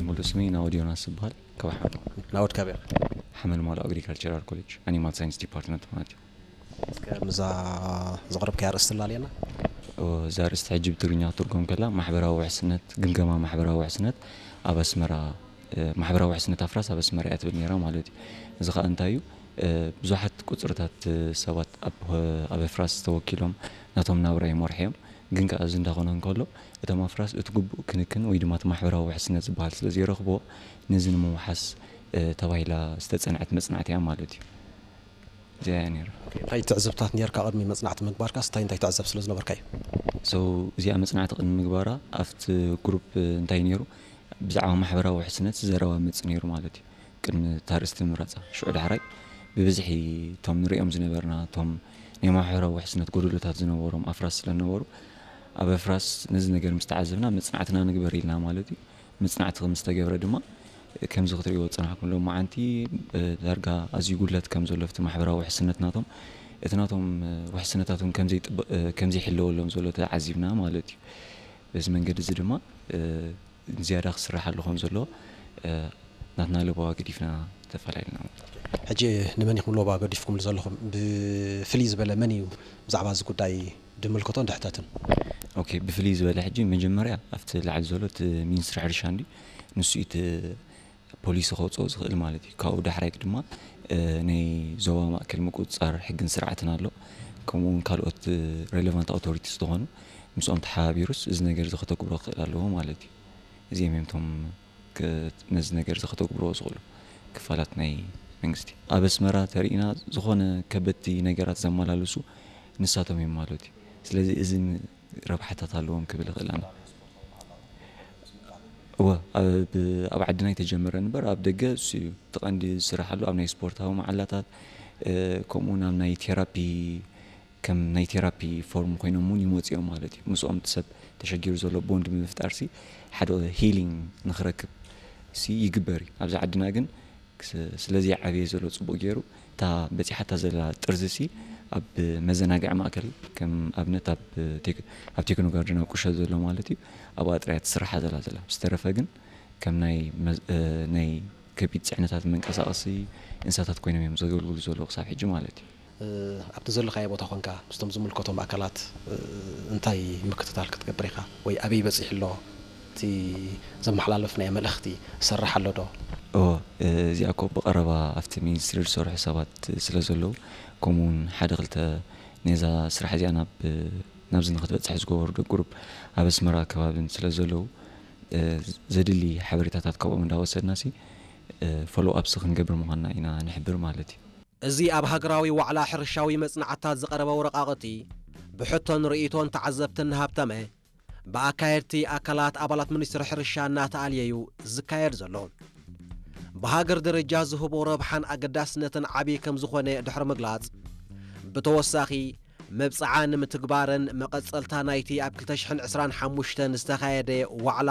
ሙሉእ ስመይ ናኦድ ዮናስ ይበሃል። ካብ ሓመል ናኦድ ካበይ ኢኻ? ሓመል ማሎ ኣግሪካልቸራል ኮሌጅ ኣኒማል ሳይንስ ዲፓርትመንት ማለት እዩ። እስከ ምዛ ዘቕረብካያ ኣርእስቲ ኣላልየና። እዛ ኣርእስቲ ሕጂ ብትግርኛ ክትርጎም ከላ ማሕበራዊ ውሕስነት፣ ግምገማ ማሕበራዊ ውሕስነት ኣብ ኣስመራ፣ ማሕበራዊ ውሕስነት ኣፍራስ ኣብ ኣስመራ እያ ትብል ነይራ ማለት እዩ። እዚ ኸኣ እንታይ እዩ? ብዙሓት ቁጽርታት ሰባት ኣብ ኣፍራስ ተወኪሎም ናቶም ናብራ ይመርሑ እዮም። ግን ከኣ እዚ እንዳኾነ እንከሎ እቶም ኣፍራስ እቲ ግቡእ ክንክን ወይ ድማ እቲ ማሕበራዊ ውሕስነት ዝበሃል ስለ ዘይረኽቦ ነዚ ንምውሓስ ተባሂላ ዝተጸንዐት መጽናዕቲ እያ ማለት እዩ። እዚኣ እያ ነይራ። እንታይ ትዕዝብታት ነርካ ቅድሚ መጽናዕቲ ምግባርካስ እንታይ እንታይ ትዕዘብ ስለ ዝነበርካ እዩ? So እዚኣ መጽናዕቲ ቅድሚ ምግባራ ኣብቲ ግሩፕ እንታይ ነይሩ? ብዛዕባ ማሕበራዊ ውሕስነት ዘረባ መጽእ ነይሩ ማለት እዩ። ቅድሚ እታ ኣርእስቲ ምምራጻ። ሽዑ ዳሕራይ ብብዝሒ እቶም ንሪኦም ዝነበርና እቶም ናይ ማሕበራዊ ውሕስነት ጎደሎታት ዝነበሮም ኣፍራስ ስለ ዝነበሩ ኣብ ኣፍራስ ነዚ ነገር ምስ ተዓዘብና መጽናዕትና ንግበር ኢልና ማለት እዩ። መጽናዕቲ ከም ዝተገብረ ድማ ከምዚ ክትሪእዎ ዝጸናሕኩም ሎማዓንቲ ዳርጋ ኣዝዩ ጉድለት ከም ዘሎ ኣብቲ ማሕበራዊ ውሕስነት ናቶም እቲ ናቶም ውሕስነታቶም ከም ዘይጥበ- ከም ዘይሕለወሎም ዘሎ ተዓዚብና ማለት እዩ። በዚ መንገዲ እዚ ድማ ዝያዳ ክስራሓሉ ከም ዘሎ ናትና ለበዋ ገዲፍና ተፈላለና ማለት እዩ። ሕጂ ንመን ኢኹም ለበዋ ገዲፍኩምሉ ዘለኹም? ብፍልይ ዝበለ መን እዩ ብዛዕባ እዚ ጉዳይ ድምልከቶን ድሕተትን? ኦኬ፣ ብፍልይ ዝበለ ሕጂ መጀመርያ ኣብቲ ላዕሊ ዘሎ እቲ ሚኒስትሪ ሕርሻ እንዲ ንሱ እዩ እቲ ፖሊሲ ከውፅኦ ዝኽእል ማለት እዩ። ካብኡ ዳሕራይ ድማ ናይ ዞባ ማእከል ምቁፅፃር ሕግን ስርዓትን ኣሎ። ከምኡ እውን ካልኦት ሬሌቫንት ኣውቶሪቲስ ዝኾኑ ምስኦም ተሓባቢሩስ እዚ ነገር እዚ ከተግብሮ ክኽእል ኣለዎ ማለት እዩ። እዚኦም እዮም እቶም ነዚ ነገር እዚ ከተግብርዎ ዝኽእሉ ክፋላት ናይ መንግስቲ። ኣብ ኣስመራ ተሪእና ዝኾነ ከበድቲ ነገራት ዘመላልሱ ንሳቶም እዮም ማለት እዩ። ስለዚ እዚ ረብሓታት ኣለዎም ክብል ይኽእል ኣነ። እወ ኣብ ዓድና ኣይተጀመረን እምበር ኣብ ደገ እሱ እዩ እቲ ቀንዲ ዝስራሕ ኣሎ ኣብ ናይ ስፖርታዊ መዓላታት ከምኡ ናብ ናይ ቴራፒ ከም ናይ ቴራፒ ፎርም ኮይኖም እውን ይመፁ እዮም ማለት እዩ። ምስኦም እቲ ሰብ ተሸጊሩ ዘሎ ቦንድ ብምፍጣር ሲ ሓደ ሂሊንግ ንክረክብ ሲ ይግበር እዩ። ኣብዚ ዓድና ግን ስለዚ ዓብየ ዘሎ ፅቡቅ ገይሩ እታ በፂሓታ ዘላ ጥርዚ ሲ ኣብ መዘናግዒ ማእከል ከም ኣብነት ኣብ ቴክኖ ጋርደን ኣብ ቁሸት ዘሎ ማለት እዩ ኣብኣ ጥራያ ትስራሓ ዘላ ዘላ ብዝተረፈ ግን ከም ናይ ከቢድ ፅዕነታት መንቀሳቀሲ እንስሳታት ኮይኖም እዮም ዘገልግሉ ዘለዉ ክሳብ ሕጂ ማለት እዩ። ኣብቲ ዘለኻዮ ቦታ ኮንካ ምስቶም ዝምልከቶም ኣካላት እንታይ ምክትታል ክትገብር ኢኻ ወይ ኣበይ በፂሑ ኣሎ እቲ ዘመሓላለፍናዮ መልእኽቲ ዝሰርሕ ኣሎ ዶ? እወ እዚኣ እኮ ብቐረባ ኣብቲ ሚኒስትሪ ዝሰርሑ ሰባት ስለ ዘለዉ ከምኡ እውን ሓደ ክልተ ነዛ ስራሕ እዚኣ ናብ ናብዚ ንክትበፅሕ ዝገበሩ ዶ ግሩፕ ኣብ ኣስመራ ከባብን ስለ ዘለዉ ዘድሊ ሓበሬታታት ካብኦም እንዳወሰድና ሲ ፎሎ ኣፕስ ክንገብር ምዃንና ኢና ንሕብር ማለት እዩ። እዚ ኣብ ሃገራዊ ዋዕላ ሕርሻዊ መጽናዕትታት ዝቐረበ ወረቓቕቲ ብሕቶን ርእይቶን ተዓዘብትን እናሃብተመ ብኣካየድቲ ኣካላት ኣባላት ሚኒስትሪ ሕርሻ እናተኣልየ እዩ ዝካየድ ዘሎ። ብሃገር ደረጃ ዝህቦ ረብሓን ኣገዳስነትን ዓብዪ ከም ዝኾነ ድሕሪ ምግላጽ ብተወሳኺ መብጽዓ ንምትግባርን መቐጸልታ ናይቲ ኣብ ክልተ ሽሕን ዕስራን ሓሙሽተን ዝተኻየደ ዋዕላ